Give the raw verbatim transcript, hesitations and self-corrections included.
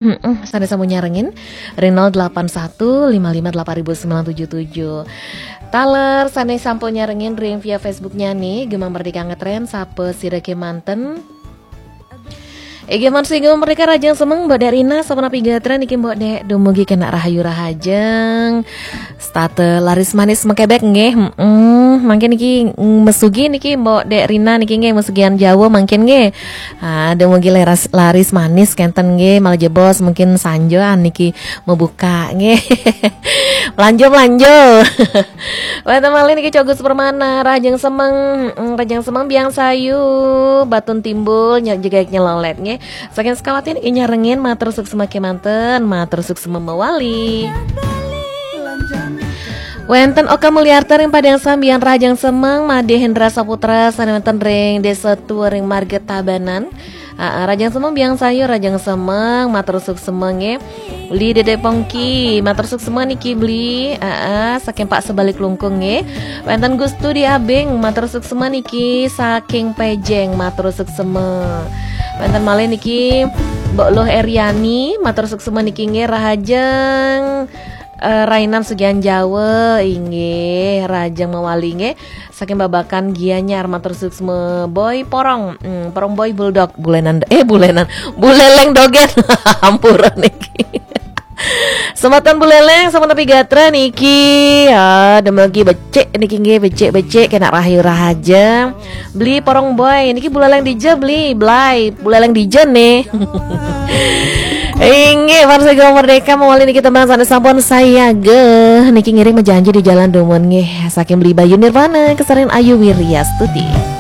Sané sampun nyarengin ring nol delapan satu lima lima delapan ribu sembilan tujuh tujuh. Taler sané sampun nyarengin ring via Facebooknya nih, Gema Merdeka Ngetren, sapa sira kemanten. Inggih, Gema Merdeka rahajeng semeng, Mbok Dek Rina, sapunapi gatra niki Mbok Dek, dumugi kenak rahayu rahajeng. Starte laris manis makebek nggih. Heeh, mangkin niki, mm, mesugi niki Mbok Dek Rina niki nggih, mesugian Jawa mangkin nggih. Ah, dumugi laris, laris manis kenten nggih, malah jebos mungkin sanjoan niki mebuka nggih. Melanjo, melanjo. Wénten malih niki Cogus Permana, rahajeng semeng, mm, rahajeng semeng Biang Sayu, Batun Timbul, ny-, jegeg nyelolet nggih. Saking Sukawati niki nyarengin, matur suksma kemanten, matur suksma mawali. Wénten Oka Mulyarta ring Padang Sambian, rahajeng semeng, Madé Hendra Saputra sané wénten ring Desa Tua ring Marga Tabanan. Aa, rahajeng semeng Biang Sayu, rahajeng semeng, matur suksma nggih. Beli Dede Pongki, matur suksma niki Beli. Aa, saking Pak Sebalik Lungkung nggih. Wénten Gustu di Abing, matur suksma niki saking Pejeng, matur suksma. Wénten malih niki Mbok Luh Eriani, matur suksma niki nggih, rahajeng, eh, rainan Sugihan Jawa, inggih, rahajeng mawali nggih. Saking Babakan Gianyar, matur suksma Boy Porong, hmm, Porong Boy Bulldog, Bulenan, eh, Bulenan, Buleleng Dogen. Ampura niki. Semeton Buleleng, sapunapi gatra niki. Ya, dumugi becik niki nggih, becik-becik kenak rahayu rahajeng. Beli Porong Boy, niki Buleleng dija, Beli, Blai, Buleleng dija nih. Inggih, Farsa Gema Merdeka mawali niki tembang sané sampun sayaga. Niki ngiring majanji di jalan dumun nggih. Saking Beli Bayu Nirwana, kesarin Ayu Wiryastuti.